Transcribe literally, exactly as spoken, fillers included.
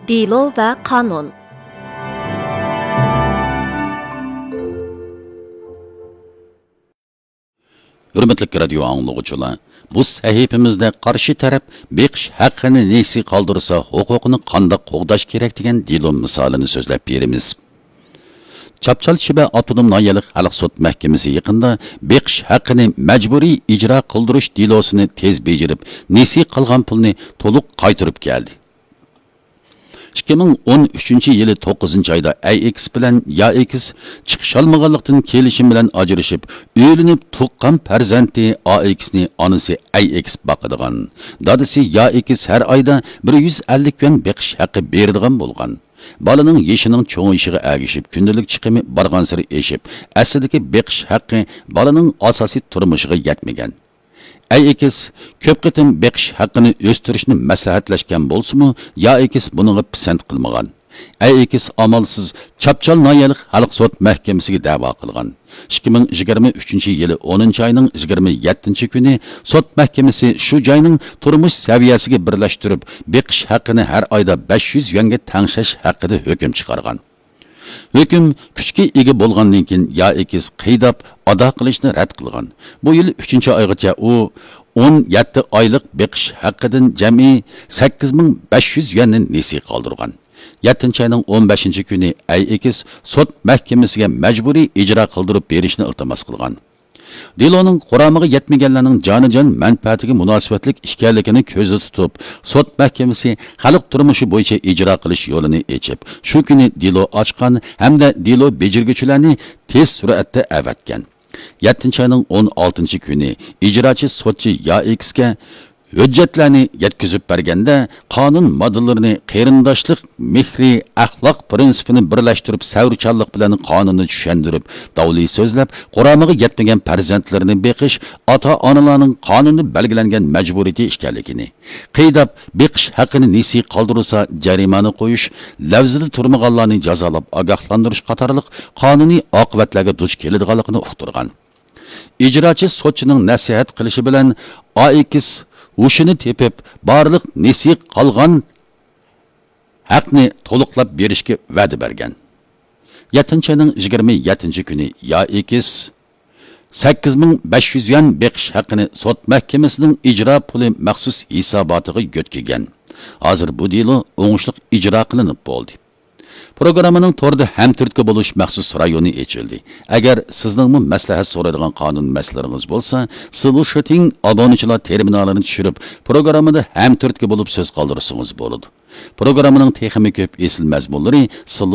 دېلو ۋە قانۇن. ھۆرمەتلىك رادىيو ئاڭلىغۇچىلار، بۇ سەھىپىمىزدە قارشى تەرەپ بېقىش ھەققىنى نېسى قالدۇرسا، ھوقۇقىنى قانداق قوغداش كېرەك دېگەن دېلو مىسالىنى سۆزلەپ بېرىمىز. چاپچال شىبە ئاپتونوم ناھىيەلىك خەلق سوت مەھكىمىسى يېقىندا بېقىش ھەققىنى مەجبۇرىي ئىجرا قىلدۇرۇش دېلوسىنى تېز بېجىرىپ، نېسى قىلغان پۇلنى تولۇق قايتۇرۇپ كەلدى. ئىككى مىڭ ئون ئۈچىنچى يىلى توققۇزىنچى ئايدا ئەي ئېكس بىلەن يا ئېكس چىقىشالمىغانلىقتىن، كېلىشىم بىلەن ئاجرىشىپ، ئۆيلىنىپ تۇغقان پەرزەنتى ئا ئېكسنى ئانىسى ئەي ئېكس باقىدىغان، دادىسى يا ئېكس ھەر ئايدا بىر يۈز ئەللىك يۈەن بېقىش ھەققى بېرىدىغان بولغان. بالىنىڭ يېشىنىڭ چوڭىيىشىغا ئەگىشىپ، كۈندىلىك چىقىمى بارغانسېرى ئېشىپ، ئەسلىدىكى بېقىش ھەققى بالىنىڭ ئاساسىي تۇرمۇشىغا يەتمىگەن. ئەي ئېكس كۆپ قېتىم بېقىش ھەققىنى ئۆستۈرۈشنى مەسلىھەتلەشكەن بولسىمۇ، يا ئېكس بۇنىڭغا پىسەنت قىلمىغان. ئەي ئېكس ئامالسىز چاپچال ناھىيەلىك خەلق سوت مەھكىمىسىگە دەۋا قىلغان. ئىككى مىڭ يىگىرمە ئۈچىنچى يىلى ئونىنچى ئاينىڭ يىگىرمە يەتتىنچى كۈنى سوت مەھكىمىسى شۇ جاينىڭ تۇرمۇش سەۋىيەسىگە بىرلەشتۈرۈپ، بېقىش ھەققىنى ھەر ئايدا بەش يۈز يۈەنگە تەڭشەش ھەققىدە ھۆكۈم چىقارغان. ھۆكۈم كۈچكە ئىگە بولغاندىن كېيىن، يا ئېكس قىيداپ ئادا قىلىشنى رەت قىلغان. بۇ يىل ئۈچىنچى ئايغىچە ئۇ ئون يەتتە ئايلىق بېقىش ھەققىدىن جەمئىي سەككىز مىڭ بەش يۈز يۈەننى نېسى قالدۇرغان. يەتتىنچى ئاينىڭ ئون بەشىنچى كۈنى ئەي ئېكس سوت مەھكىمىسىگە مەجبۇرىي ئىجرا قىلدۇرۇپ بېرىشنى ئىلتىماس قىلغان. دېلونىڭ قۇرامىغا يەتمىگەنلەرنىڭ جانىجان مەنپەئەتىگە مۇناسىۋەتلىك ئىكەنلىكىنى كۆزدە تۇتۇپ، سوت مەھكىمىسى خەلق تۇرمۇشى بويىچە ئىجرا قىلىش يولىنى ئېچىپ، شۇ كۈنى دېلو ئاچقان ھەمدە دېلو بېجىرگۈچىلەرنى تېز سۈرئەتتە ئەۋەتكەن. يەتتىنچى ئاينىڭ ئون ئالتىنچى كۈنى ئىجراچى سوتچى يا ئېكسكە ھۆججەتلەرنى يەتكۈزۈپ بەرگەندە، قانۇن ماددىلىرىنى قېرىنداشلىق مېھرى، ئەخلاق پىرىنسىپىنى بىرلەشتۈرۈپ، سەۋرچانلىق بىلەن قانۇننى چۈشەندۈرۈپ، داۋلى سۆزلەپ، قۇرامىغا يەتمىگەن پەرزەنتلىرىنى بېقىش ئاتا-ئانىلارنىڭ قانۇندا بەلگىلەنگەن مەجبۇرىيىتى ئىكەنلىكىنى، قىيداپ بېقىش ھەققىنى نېسى قالدۇرۇلسا جەرىمانە قويۇش، لەۋزىدە تۇرمىغانلارنى جازالاپ ئاگاھلاندۇرۇش قاتارلىق قانۇنىي ئاقىۋەتلەرگە دۇچ كېلىدىغانلىقىنى ئۇقتۇرغان. ئىجراچى سوتچىنىڭ نەسىھەت قىلىشى بىلەن ئا ئېكس ھوشىنى تېپىپ، بارلىق نېسى قالغان ھەقنى تولۇقلاپ بېرىشكە ۋەدە بەرگەن. يەتتىنچى ئاينىڭ يىگىرمە يەتتىنچى كۈنى يا ئېكس سەككىز مىڭ بەش يۈز يۈەن بېقىش ھەققىنى سوت مەھكىمىسىنىڭ ئىجرا پۇلى مەخسۇس ھېساباتىغا يۆتكىگەن. ھازىر بۇ دېلو ئوڭۇشلۇق ئىجرا قىلىنىپ بولدى. پروگراممىنىڭ توردا ھەمتۈرتكە بولۇش مەخسۇس رايونى ئېچىلدى. ئەگەر سىزنىڭمۇ مەسلىھەت سورايدىغان قانۇن مەسىلىلىرىڭىز بولسا، سلۇشىتىڭ ئابۇنىچىلار تېرمىنالىنى چۈشۈرۈپ، پروگراممىدا ھەمتۈرتكە بولۇپ سۆز قالدۇرسىڭىز بولىدۇ. پروگراممىنىڭ تېخىمۇ كۆپ ئېسىل مەزمۇنلىرى